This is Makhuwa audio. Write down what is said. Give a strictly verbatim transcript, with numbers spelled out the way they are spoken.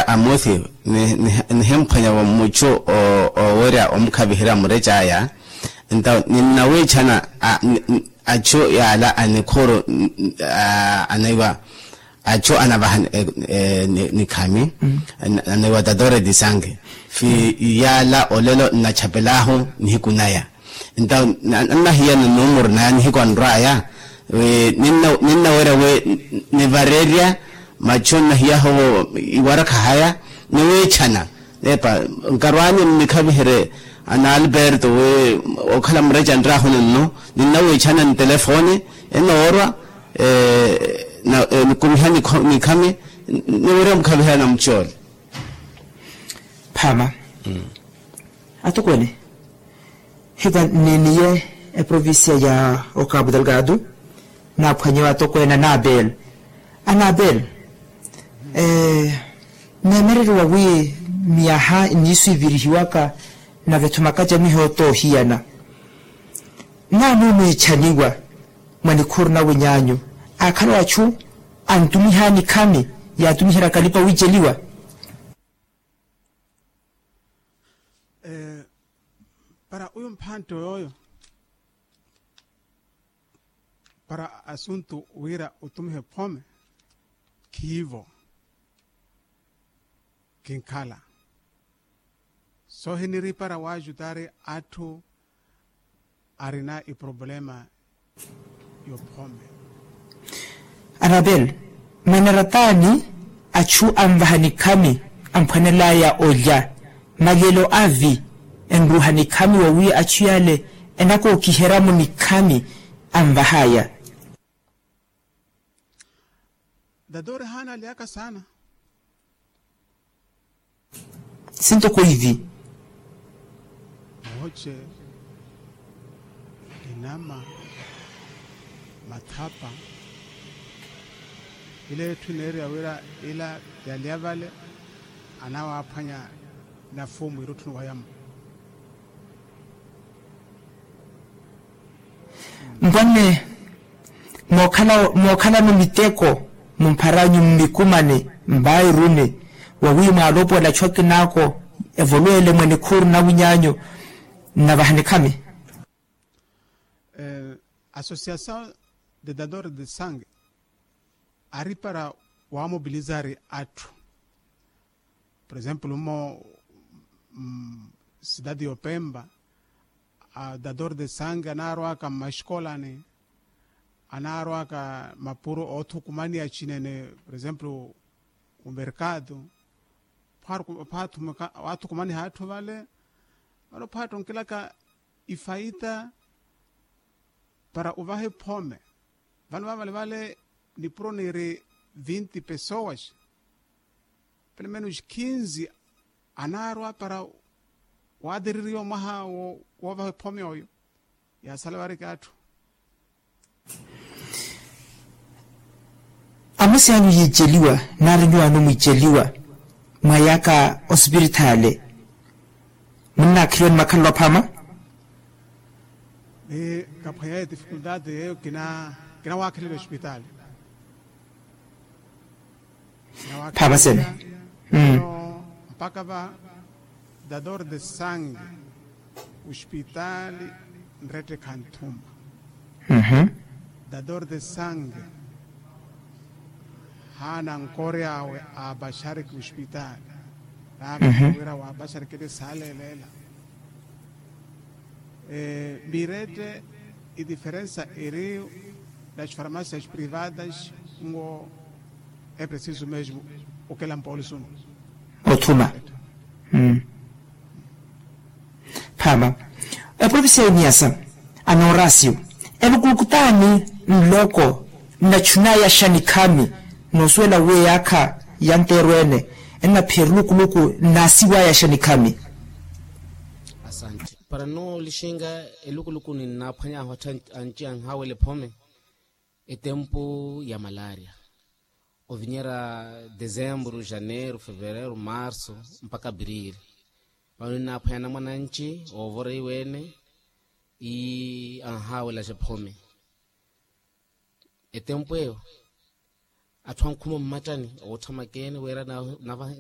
Amosi, nihimphwanya wa mmuchu owerya omukhaviherya murec'aya. Nto ninnawiichana achu yaala anikhuru anaiwa achu anavaha nikhami, anaiwa tatoreti sange. Fi yaala olelo nnachapelahu nihiku naya. Nto annahiyana numuru naya nihiku anrwaya. Ninnawerya wi nivarerya machu nnahiyaho iwarakha haya niwiichana. Epa nkarwani nnikhaviherye ana alberto wi okhala mureca nrahu ninno ninnawiichana ntelefoni enoorwa nikumiha nikhami niwerya mukhaviherya na muchole. Phama. Atukwene. Hita niniye eprovincia ya okabu delgado. Naaphwanyewa atokweene anabel anabel. Neemereriwa wi miyaha nniiswivirihiwaka na vetho makacamiho toohiyana. Naani oneechaniwa mwa nikhuru na winyaanyu aakhala achu antumiha nikhami yaatumiheryaka alipa wiiceliwa. Para uyu mphantte yooyo para asuntu wira utumihe phome khiivo kinkhala. Soohiniri para waajutari atthu arina iproblema. Yophome. Anabel, manaratani achu anvaha nikhami amphwanelaya olya malelo avi enruha nikhami wawi achu yale enakookiheryamo nikhami anvahaya. Dadori haana alyaka saana. Sintoko ivi. Mooce inama mathapa. Ila etthu ineeriwa wira ila yalya vale anawaaphwanya nafumu irutthuni wayamo. Mpwanne mookhalano miteko mumpharanyu mmikumane mbairuni wawi mwaalopola achu akinako evolwele mwa nikhuru na winyaanyu nnavaha nikhami. Associação de dadores de sangue ari para wamobilizari atthu. Por exemplo mmo cidade y'opemba dador de sangue anaarwaka mmaxikolani anaarwaka mapuro oothukumaniya cinene. Por exemplo omerkado phaathukumaniha atthu vale vano phaattonkilaka ifaita para uvaha ephome. Vano vavale vale nipuro niiri vinti pessoas pelo menos kinzi anaarwa para waatiririwa mwaha woovaha ephome oyo. Yaasala variki atthu. Amosi anyu yiiceliwa nari nyuwaano mwiiceliwa mwa yaaka osipiritaale munnaakheliwa ni makhalelo aphama. Ni kaphwanya ye difikultati yeyo kinawaakhelela ospitaali. Phaapasene. Mpaka va dador de sange ospitaali nrettekha nthuma. Dador de sange haana nkoryawe aapaxariki ospitaali. Naapaka wira waapaxarikile saaleeleela. Mirette idiferensa eri nas farmacias privadas nwo. Epreciso mesmo okela mpolisunu. Othuma. Phaama. Eprovincia ya iniasa anoorasio elukuluku t'ani nloko nnachunaya xa nikhami noosuwela wi eyaakha ya nteerweene ennaphiya elukuluku nnaasiwaya xa nikhami. Asante. Para nnoolixinka elukuluku ninnaaphwany'ahu atthu anci anhaawela ephome etempu ya malaria ovinyerya desemburu janeiro fevereiro marso mpakha apirili. Vano ninnaaphwanya anamwane anci oovora iweene ii anhaawelaxa ephome. Etempu eyo atthu ankhuma mmattani ootthamakeene wira nava